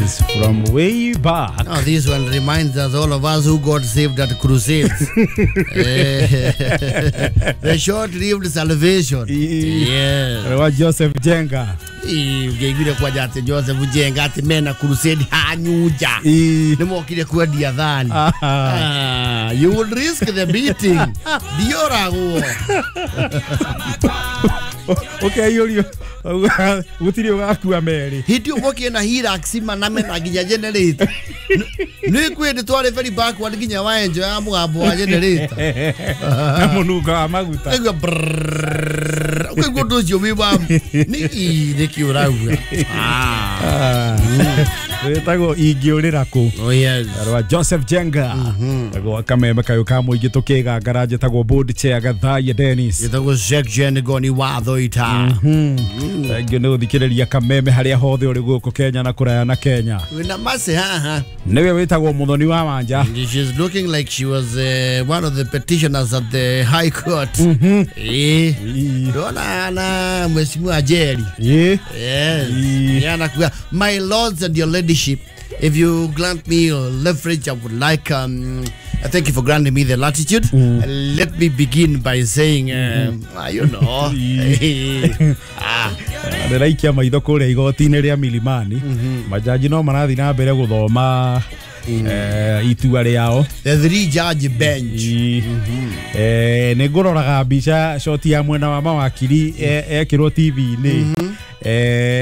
Is from way back. Now this one reminds us, all of us who got saved at crusades. The short-lived salvation. Yes. Wa Joseph Jenga. Ũngĩaiguire kwanja atĩ Joseph Jenga atĩ mena crusade hanyunja. Nĩmokire kwendia thani. You would risk the beating. Ndioragwo. Ũkeyũrio gũtirĩ ũgakua merĩ. Hĩndĩ ĩyo mokire na Hilux mana mena nginya generator. Nĩ kwĩ ndĩ twarĩ very backward nginya waenjo ya mũgambo wa generator. Na mũnungo wa maguta. Ũkaigua brrrr. Ũkaigua ũndũ ũcio wĩ wa nĩkĩ ũrauga. Wĩtagwo ingĩũrĩra kũ. Oh yes. Rwa Joseph Jenga. Tagwo kameme kayũ ka mũingĩ tũkĩgangara njĩtagwo board chair Gathaiya Dennis. Gĩtagwo Jack Jengoni watho ita. Thank you nĩ gũthikĩrĩria kameme harĩa hothe ũrĩ gũkũ Kenya na kũraya na Kenya. Wĩna Mercy haha. Nĩwe wĩtagwo Mũthoni wa Wanja. She's looking like she was one of the petitioners at the High Court. Ndona na Mheshimiwa Jerry. Yes. Yana my lords and your ladyship, if you grant me your leverage, I would like I thank you for granting me the latitude. Let me begin by saying, you know, ndĩraikia maitho kũrĩa igoti-inĩ rĩa Milimani. Majaji no marathiĩ na mbere gũthoma itua rĩao. The three judge bench. Nĩ ngũroraga mbica shoti ya mwena wa mawakiri ekĩrwo TV-inĩ.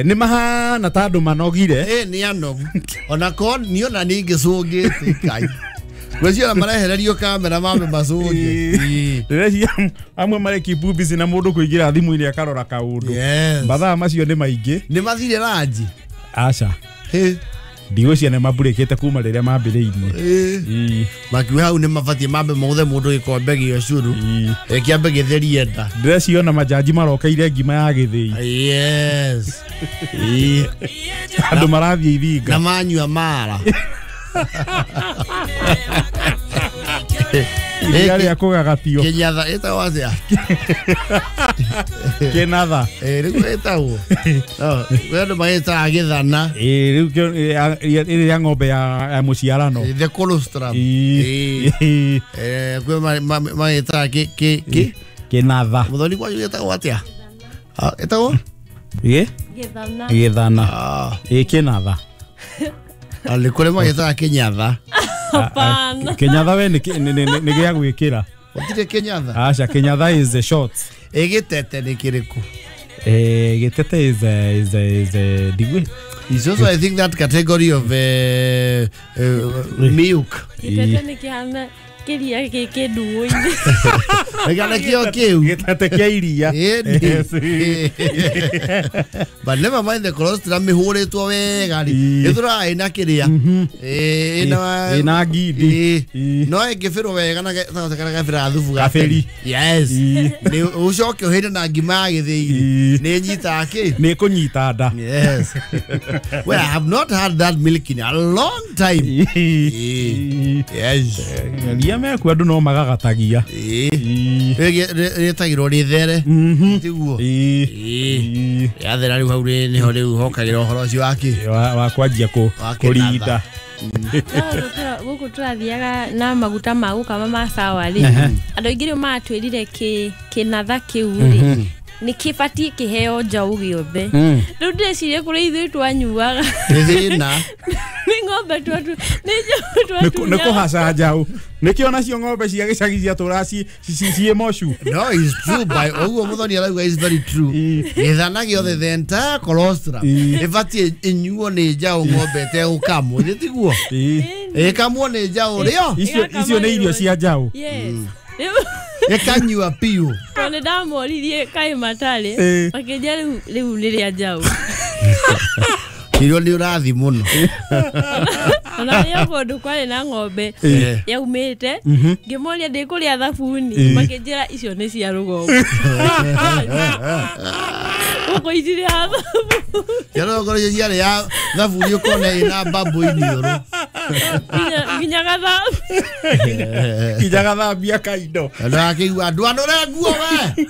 Nĩ mahana ta andũ manogire. Nĩ anogu. Ona korwo niĩ ona niĩ ngĩcũngĩte Ngai. Gwĩciria marehererio kamera mambe macũnge. Ndĩreciria amwe marĩ keep busy na mũndũ kũingĩra thimũ-inĩ akarora kaũndũ. Mathaa macio nĩ maingĩ. Nĩ mathire ranji? Aca. Ndigwĩciria nĩ mambũrĩkĩte kuma rĩrĩa mambĩrĩirie. Makiuga hau nĩ mabatiĩ mambe maũthe mũndũ gĩkombe gĩa ũcũrũ. Kĩambe gĩtherie nda. Ndĩreciria majaji marokeire ngima ya gĩthĩi. Yes. Andũ marathiĩ ithinga. Na manyua mara. Iria rĩa kũgagatio. Kĩnyatha ĩtagwo atĩa? Kĩnatha. Rĩu ĩtagwo. Kwĩ andũ magĩtaga gĩthana. Rĩu ĩrĩ ya ng'ombe ya mũciarano. The colostrum. Kwĩ magĩtaga kĩ? Kĩnatha. Mũthoni kwanyu gĩtagwo atĩa? Ĩtagwo? Gĩthana. Gĩthana. Kĩnatha. Nĩ kũrĩ magĩtaga kĩnyatha. Hapana. Kĩnyatha we nĩ gĩa gwĩkĩra. Gũtirĩ kĩnyatha? Aca, kĩnyatha is the short. Gĩtete nĩ kĩrĩkũ? Gĩtete is a ndigwĩ. It's also, I think, that category of milk. Gĩtete nĩ kĩhana kĩria gĩ kĩndũũ-inĩ. Gĩkana kĩo kĩu. Gĩtete kĩa iria. But never mind the colostrum mĩhũrĩtwo wega rĩ. Ĩtũraga ĩna kĩrĩa. Ĩna ngindi. No ĩngĩbĩrwo wega na karĩa gabĩraga thubu Gabĩri. Yes. Nĩ ũcoke ũhĩre na ngima ya gĩthĩi. Nĩ ĩnyitaga kĩ? Nĩ ĩkũnyita nda. Yes. Well, I have not had that milk in a long time. Yes. Iria mekuo andũ no magagatagia. Rĩtagĩrwo rĩthere. Tiguo. Yathera rĩu hau nĩho rĩu hokagĩra ũhoro ũcio wa kĩ? Wa kwanjia kũrinda. Gũkũ tũrathiaga na maguta ma gũkama ma sawa rĩ. Andũ aingĩ rĩu matwĩrire kĩnatha kĩu rĩ nĩ kĩbatiĩ kĩheo njaũ gĩothe. Rĩu ndĩreciria kũrĩ ithuĩ twanyuaga. Nĩ thĩna. Nĩ ng'ombe nĩ njaũ twatunyaga. Nĩ kũhaca njaũ. Nĩkĩo nacio ng'ombe cia gĩcagi ciatũraga ciĩ mocu. No, it's true. By ũguo Mũthoni arauga is very true. Gĩthana gĩothe the entire colostrum ĩbatiĩ ĩnyuo nĩ njaũ ng'ombe ĩtegũkamwo. Nĩ tiguo? Ĩkamwo nĩ njaũ rĩo. Icio nĩ irio cia njaũ. Yes. Ĩkanyua piũ. Tondũ nĩ ndamoririe kaĩ matarĩ makĩnjĩra rĩu nĩ rĩa njaũ. Irio nĩ ũrathi mũno. Ona rĩo kũndũ kwarĩ na ng'ombe yaumĩte ngĩmoria ndĩkũrĩa thabuni makĩnjĩra icio nĩ cia rũgongo. Gũkũ itirĩ ya thabuni. Cia rũgongo nĩcio ciarĩ ya thabuni ũkona ĩna mbambũ iniũrũ. Nginya gathambia. Nginya gathambia kaindo. Ndakĩigua andũ anũre nguo we.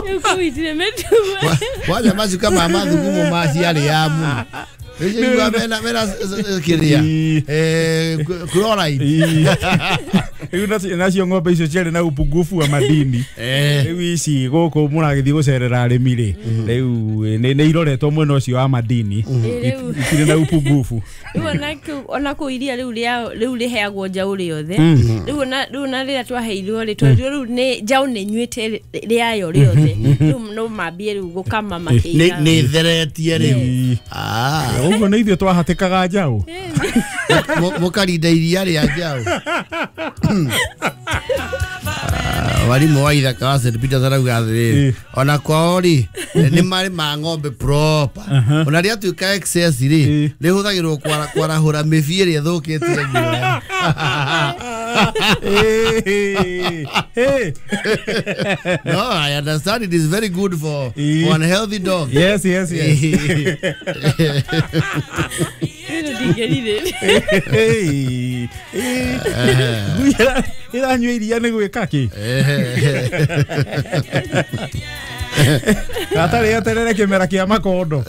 Rĩu kũu itirĩ mĩtugo. Kwanja macuka ma mathugumo ma ciarĩ ya mũno. Nĩigua mena kĩrĩa chloride. Rĩu nacio ng'ombe icio ciarĩ na upungufu wa madini. Rĩu ici gũkũ mũragĩthiĩ gũcerera arĩmi rĩ, rĩu nĩ iroretwo mwena ũcio wa madini, itirĩ na upungufu. Rĩu ona kũu iria rĩu rĩu rĩheagwo njaũ rĩothe. Rĩu na rĩrĩa twaheirwo rĩ, twerirwo rĩu nĩ njaũ nĩ nyuĩte rĩayo rĩothe. Rĩu no mambie rĩu gũkama makĩigaga. Nĩ theretie rĩu. Ũguo nĩ ithuĩ twahatĩkaga njaũ. Mũkarinda iria rĩa njaũ. Warimu wa ithaka wa St. Peters arauga atĩrĩrĩ, ona kwao rĩ nĩ marĩ ma ng'ombe proper, ona rĩatuĩka excess rĩ rĩhũthagĩrwo kwarahũra mĩbii ĩrĩa ĩthũkĩtie guoya. No, I understand it is very good for unhealthy dog. Yes, yes, yes. Iranyua iria nĩ gwĩka kĩ? Gatarĩ eterere kĩmera kĩa makondo.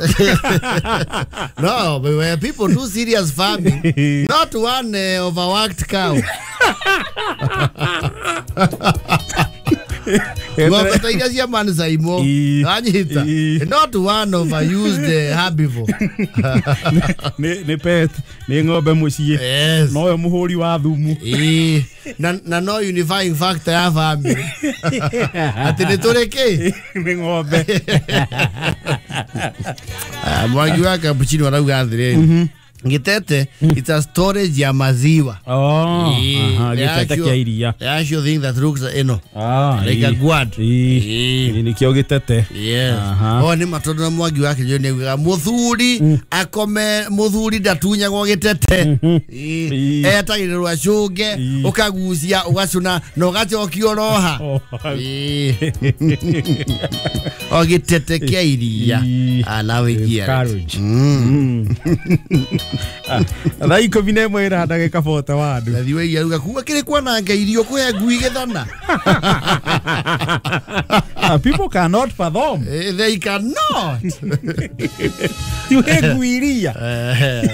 No, but when people do serious farming, not one overworked cow. Ng'ombe ta iria cia Mansaimo, wanyita, not one overused herbivore. Nĩ pet, nĩ ng'ombe mũciĩ. Nowe mũhũri wa thumu. Na no unifying factor ya family. Atĩ nĩ tũrĩ kĩ? Nĩ ng'ombe. Mwangi wa Cappuccino arauga atĩrĩrĩ, Gitete, it's a storage ya maziwa. Oh, gitete kia iria. The actual thing that looks, you know, like a gourd. Nikio gitete. Yes. Oh, ni matondo na mwangi wake ndio ni muthuri akome muthuri ndatunyagwo gitete. Etagĩrĩrwo acũnge, ũkagucia, ũgacũna na ũgacokia oroha. O gitete kia iria. Now we get it. Thaa 11 ĩra ndagĩka 41. Thathi wa iria ruga kuga kĩrĩ kwananga irio kũhe ngui gĩthana. People cannot fathom. They cannot. Tuhe ngui iria.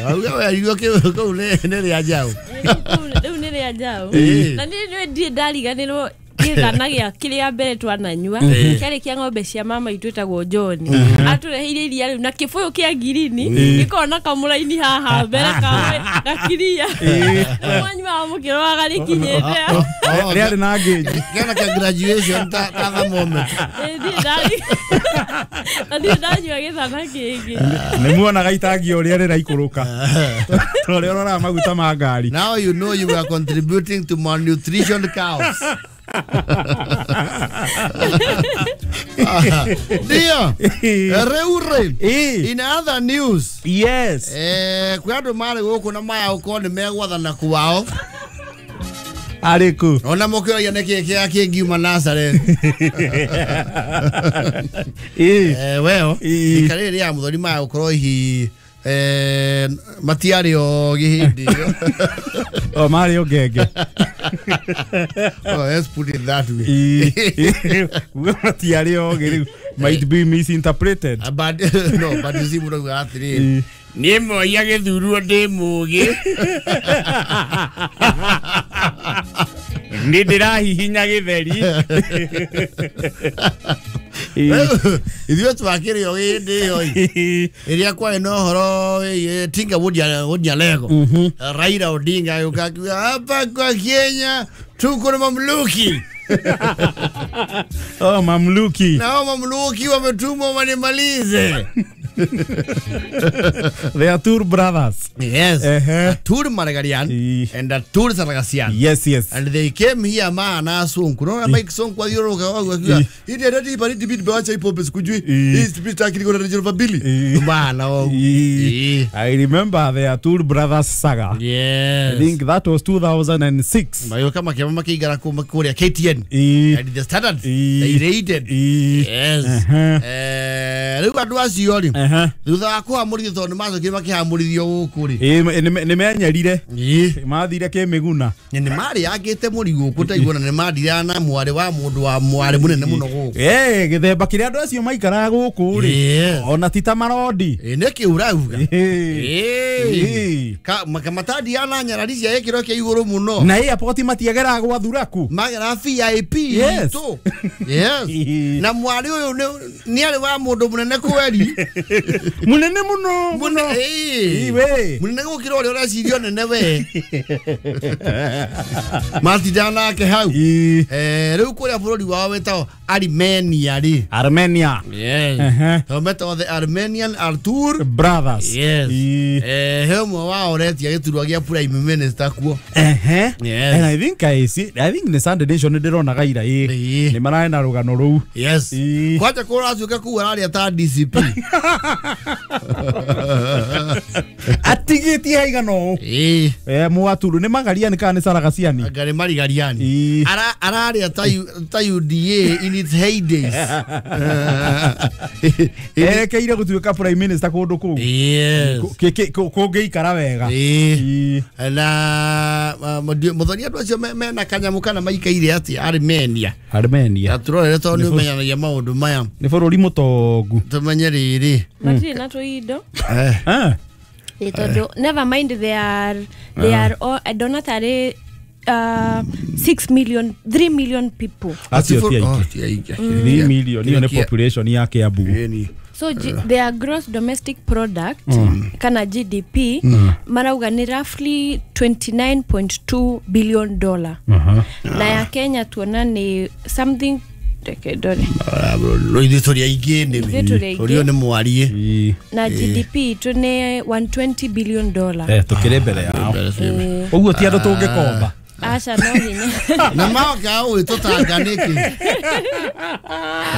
Auga we irio kĩu nĩ rĩa njaũ. Rĩu nĩ rĩa njaũ. Na niĩ ndirĩ ndariganĩrwo gĩthana gĩa kĩrĩa mbere twananyua kĩarĩ kĩa ng'ombe cia mama itũ ĩtagwo John. Atũreheire iria rĩu na kĩbũyũ kĩa ngirini gĩkoragwo na kamũraini haha mbere kawe gakiria. Mwanyuaga mũkĩroraga rĩkinyĩte. Rĩarĩ na ngĩnji. Kĩana kĩa graduation ta thermometer. Ndirĩ ndanyua gĩthana kĩngĩ. Nĩ muonaga itangi ũrĩa rĩraikũrũka. Ũrĩa ũroraga maguta ma ngari. Now you know you are contributing to malnutrition cows. Ndio. Reure. In other news. Yes. Kwa andũ marĩ gũkũ na maya ũkorwo nĩ megwathana kwao. Arĩkũ? Ona mũkĩoria nĩkĩ kĩa kĩngiuma Nazareth. Well, ikarĩ rĩa mũthoni maya gũkorwo hihi matiarĩ o gĩhĩndĩ. O marĩ o ngenge. Oh, let's put it that way. Matiarĩ o rĩu might be misinterpreted. But no, but you see mũrauga atĩrĩrĩ, niĩ moia gĩthurwo ndĩ mũgĩ. Nĩ ndĩrahihinya gĩtheri. Ithuĩ twakĩrĩ o hĩndĩ ĩyo ĩrĩa kwarĩ na ũhoro Tinga Wodia Lego. Raila Odinga agĩũka akiuga hapa kwa Kenya tuko na mamluki. Oh, mamluki. Na hao mamluki wametumwa wanimalize. They are two brothers. Yes. Atur Margarian and Atur Sargasian. Yes, yes. And they came here maana Sonko. Unaona Mike Sonko athiũrũrũka wau akiuga ile redi baridi bid bacha ipo pesa kujui. Hii sipita akili kuna rejea bili. Maana wau. I remember the Atur brothers saga. Yes. I think that was 2006. Mayo kama kama makiigara kuma kuria KTN. And the standard. They raided. Yes. Rĩu andũ acio rĩ Thutha wa kũhamũrithio tondũ nĩ macokire makĩhamũrithio gũkũ rĩ. Nĩ menyerire. Mathire kĩmĩguna. Nĩ marĩangĩte mũrigo gũkũ taiguana nĩ mandiraga na mwarĩ wa mũndũ wa mwarĩ mũnene mũno gũkũ. Gĩthemba kĩrĩa andũ acio maikaraga gũkũ rĩ. Ona ti ta marondi. Nĩkĩ ũrauga? Matandiaga na nyarari cia gĩkĩro kĩa igũrũ mũno. Na airport matiageraga gwa thuraku. Magera VIP itũ. Yes. Na mwarĩ ũyũ nĩ arĩ wa mũndũ mũnene kweri. Mũnene mũno. Mũnene gũkĩra ũrĩa ũreciria nene we. Matindaga nake hau. Rĩu kũrĩa bũrũri wao wĩtagwo Armenia rĩ. Armenia. Yes. Metagwo the Armenian Artur Brothers. Yes. He ũmwe wao ũretia gĩturwa gĩa prime minister kuo. Yes. And I think I see, I think the Sunday Nation ndĩronaga ira nĩ mararĩ na rũgano rũu. Yes. Kwanja kũracuka kũu araria ta DCP. Atigĩtie haigana ũũ. Mwaturu nĩ Magariani kana nĩ Saragasiani? Anga nĩ Marigariani. Araria ta UDA in its heydays. Erekeire gũtuĩka prime minister kũndũ kũu. Yes. Kũngĩikara wega. Na mũthoni andũ acio mena kanyamũ kana maikaire atĩa Armenia. Armenia. Turorere tondũ nĩ ũmenyanagia maũndũ maya. Nĩ bũrũri mũtongu. Tũmenye rĩrĩ. Matirĩ na tũindo. Tondũ never mind they are all, I don't know tarĩ 6 million 3 million people. Acio ti aingĩ. 3 million iyo nĩ population ya Kiambu. So their gross domestic product kana GDP marauga ni roughly $29.2 billion. Na ya Kenya tuona ni something dore. Ithuĩ tũrĩ aingĩ nĩ. Ũrĩa nĩ mwarie. Na GDP tu ni $120 billion. Tũkĩrĩ mbere yao. Ũguo ti andũ tũngĩkomba. Aca no hinya. Na maoka ũĩ tũtanga nĩkĩ?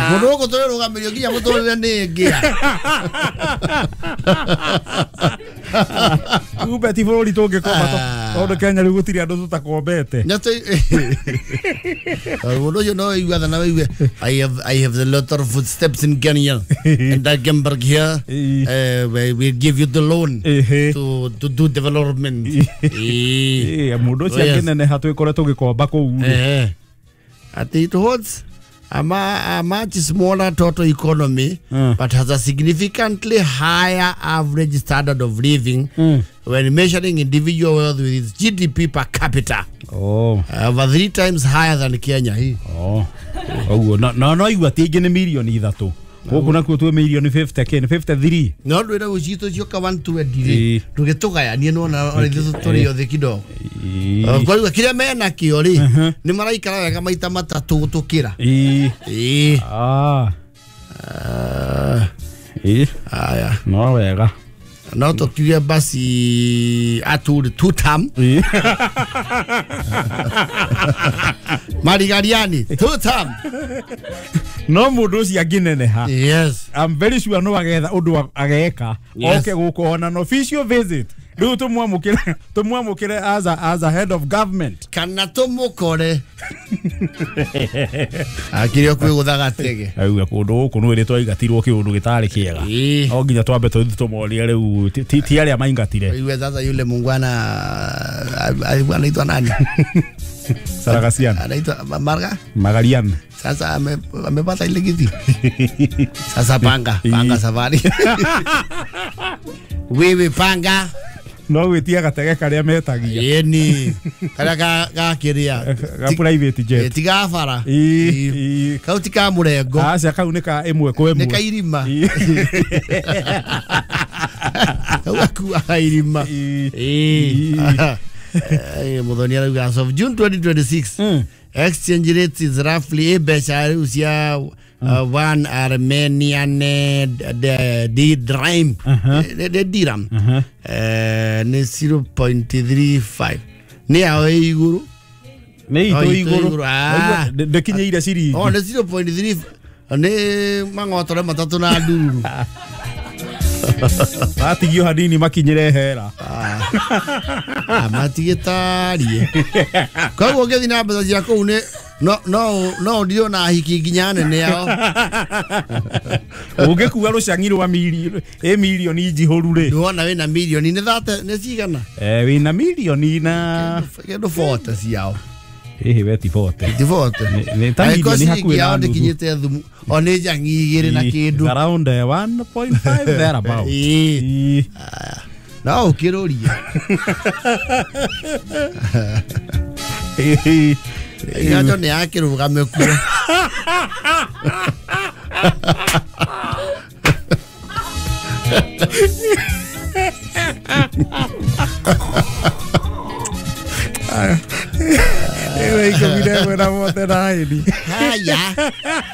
Mũndũ gũkũ tũrĩrũgamĩrio nginya mũtũrĩre nĩ ngĩa. Kumbe ti bũrũri tũngĩkomba tondũ Kenya rĩu gũtirĩ andũ tũtakombete. Mũndũ ũcio no ũiguaga na wĩigue I have the lot of footsteps in Kenya and I came back here. We give you the loan to do development. Mũndũ ũcio angĩneneha twĩkore tũgĩkomba kũu. Atĩ it holds a much smaller total economy, but has a significantly higher average standard of living when measuring individual wealth with its GDP per capita. Over 3 times higher than Kenya. Ũguo no igua ti aingĩ nĩ mirioni 3. Gũkũ nakuo twĩ mirioni 50 kĩ 53. No ndwĩra gũcitũ cioka 120 rĩ ndũgĩtũgayanie nĩwona ona ithuĩ tũrĩ othe kidogo. Kwa kĩrĩa mena kĩo rĩ nĩ maraikara wega maita matatũ gũtũkĩra. Aya. No wega. No tũkiuge basi atũrĩ two term. Marigariani two term. No mũndũ ũcio angĩneneha. Yes. I'm very sure no agetha ũndũ ageka. Oke gũkũ ona an official visit. Rĩu tũmwamũkĩre as a head of government. Kana tũmũkore. Akĩrĩ o kwĩgũtha gatege. Auga kũndũ gũkũ nĩ wĩrĩ twaigatirwo kĩũndũ gĩtarĩ kĩega. No nginya twambe tũthiĩ tũmorie rĩu ti arĩa maingatire. Iwe sasa yule mungwana alikuwa anaitwa nani? Saragasian. Anaitwa Marga? Magarian. Sasa amepata ile kiti. Sasa panga safari. Wewe panga. No gwĩtia gatege karĩa metagia. Ĩni. Karĩa ga kĩrĩa. Ga private jet. Ti ga bara. Kau ti ka mũrengo. Aca kau nĩ ka ĩmwe kwa ĩmwe. Nĩ ka irima. Kau gakuaga irima. Mũthoni arauga as of June 2026 exchange rate is roughly mbeca rĩu cia one Armenian dirham dirham nĩ 0.35 nĩ yao ĩ igũrũ nĩ itũ igũrũ ndĩkinyĩire ciringi nĩ 0.3 nĩ mang'otore matatũ na ndururu. Matigio hanini makinyĩre hera. Matigĩtarie. Koguo ũngĩthiĩ na mbeca cia kũu nĩ No no no ndio na hiki nginya nene yao. Ũngĩkua rũcang'i rwa milioni njihũru rĩ. Ndwona wĩna milioni nĩ thate nĩ cigana? Wĩna milioni na kĩndũ 40 ciao. Ĩhĩ we ti 40. Ti 40. Nĩ ta milioni hakuhĩ na nuthu. Ndĩkinyĩte thumu o nĩ njang'i igĩrĩ na kĩndũ. Around 1.5 thereabout. Ĩĩ. No ũkĩrũria. Igacho nĩ akĩrũgame kuo. Ewe ikũmi na ĩmwe na mote na hĩni. Haya.